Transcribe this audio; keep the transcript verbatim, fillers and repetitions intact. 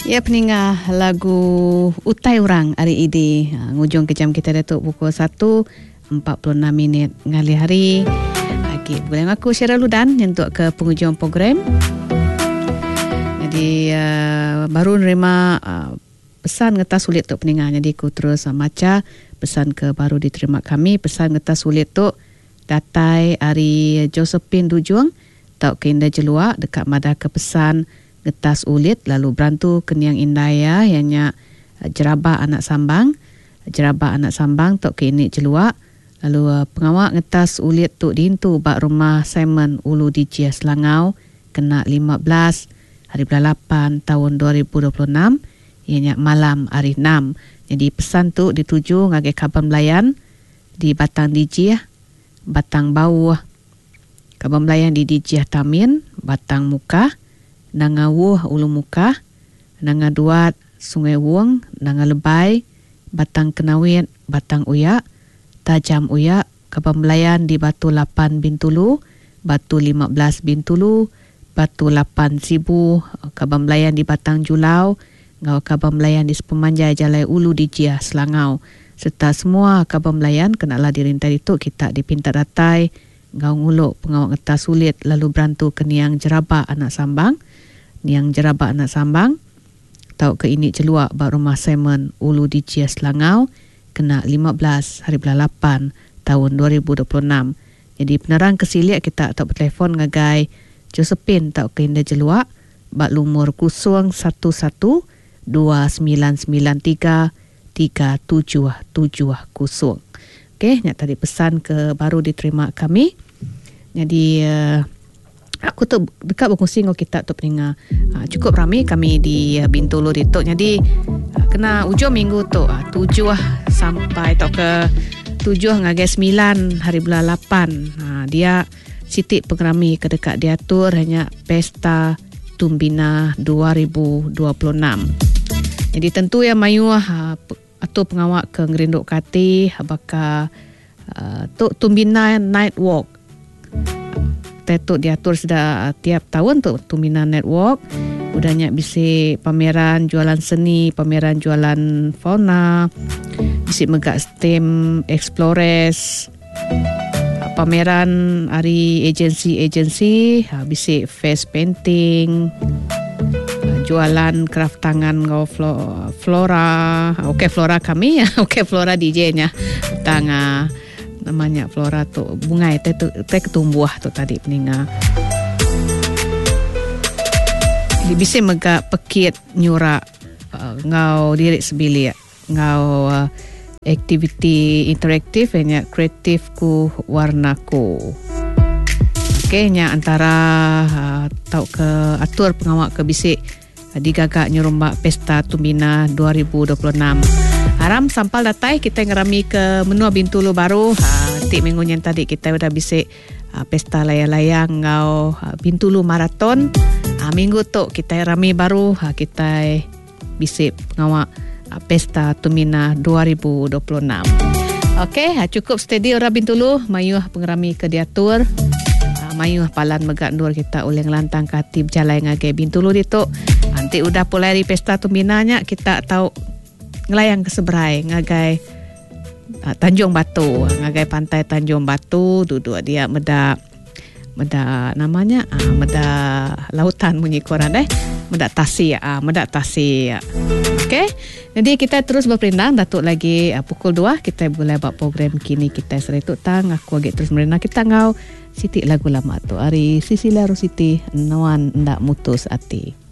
Ya peninga lagu Utai Orang hari ini ha, ngujung ke jam kita datuk pukul satu empat puluh enam minit ngalih hari. Okey, boleh aku Cheryl Ludan nyentuk ke penghujung program. Jadi uh, baru nerima uh, pesan ngetas sulit tu peninga. Jadi aku terus uh, maca pesan ke baru diterima kami. Pesan ngetas sulit tu datai ari Josephine Dujung tau ke Indah Jelua dekat madah ke pesan ngetas ulit lalu berantu ke Niang Indaya ianya Jeraba Anak Sambang. Jeraba Anak Sambang tau ke ini Jelua. Lalu uh, pengawak ngetas ulit tu diintu bak rumah Simon Ulu D J Selangau kena lima belas hari bulan lapan tahun dua ribu dua puluh enam ianya malam hari enam. Jadi pesan tu dituju ngagai kaban belayan di Batang D J, Batang Bauh, kaban belayan di D J Tamin, Batang Muka, Nangawuh Ulu Muka, Nanga Duat, Sungai Wong, Nanga Lebai, Batang Kenawit, Batang Uyak, Tajam Uyak, kaban belayan di Batu lapan Bintulu, Batu lima belas Bintulu, Batu lapan Sibu, kaban belayan di Batang Julau, ngau kaban belayan di sepemanjai Jalai Ulu di Jia Selangau. Serta semua kaban belayan kenalah dirintai itu kita dipinta datai ngau nguluk pengawak ngetas sulit lalu berantu ke Niang Jeraba Anak Sambang. Niang Jeraba Anak Sambang tau ke ini celuak bak rumah Simon Ulu di Jia Selangau kena lima belas hari bulan lapan tahun dua ribu dua puluh enam. Jadi penerang kesiliak kita atau bertelefon ngagai Josephine tau ke Indah Jeluak bak lumur kosong satu satu dua sembilan sembilan tiga tiga tujuh tujuh kosong. Okey, nyak tadi pesan ke baru diterima kami. Jadi uh, aku tu dekat berkongsi dengan kita tu peninga. Uh, cukup ramai kami di uh, Bintulu ditu. Jadi uh, kena ujung minggu tu uh, tujuh sampai atau ke tujuh ngagai sembilan hari bulan lapan. Uh, dia sitik pengerami ke dekat diatur hanya Pesta Tumbina dua ribu dua puluh enam. Jadi tentu ya mayuh uh, atau pengawak ke ngerinduk kati baka uh, tu Tumbina Night Walk. Tetuk diatur sudah tiap tahun tu Tumbina Night Walk. Udahnya bisi pameran jualan seni, pameran jualan fauna, bisi megak STEM Explorers, pameran hari agensi-agensi, bisi face painting, jualan kraft tangan ngau flora. Okey flora kami ya. Okey flora D J-nya. Tanga namanya flora tu bunga teh tu teh ketumbuh tu tadi peninga. Di bisi mega pekit nyurak uh, ngau diri sebilik ngau uh, aktiviti interaktif nya kreatifku warnaku. Okey nya antara uh, tau ke atur pengawak ke bisik uh, digagak nyurumbak Pesta Tumbina dua ribu dua puluh enam. Haram sampal datai kita ngerami ke menua Bintulu baru. Ha, tik minggu yang tadi kita udah bisik ha, pesta layang-layang ngau ha, Bintulu Marathon. Ha, minggu tu kita rami baru ha, kita bisik pengawak ha, Pesta Tumbina dua ribu dua puluh enam. Okey, ha, cukup steady orang Bintulu mayuh pengerami ke diatur. Ha, mayuh palan megak nur kita oleh ngelantang kati berjalan ngagai Bintulu ditu. Nanti udah pulai dari Pesta Tumbina nya kita tahu ngelayang ke seberai ngagai uh, Tanjung Batu, ngagai pantai Tanjung Batu duduk dia medak medak namanya uh, medak lautan bunyi koran deh, medak tasik uh, medak tasik. Okey, jadi kita terus berperindang datuk lagi uh, pukul dua kita boleh buat program kini kita seritu tang aku agak terus merena kita ngau sitik lagu lama tu hari Sisilia Rositi Nuan ndak mutus ati.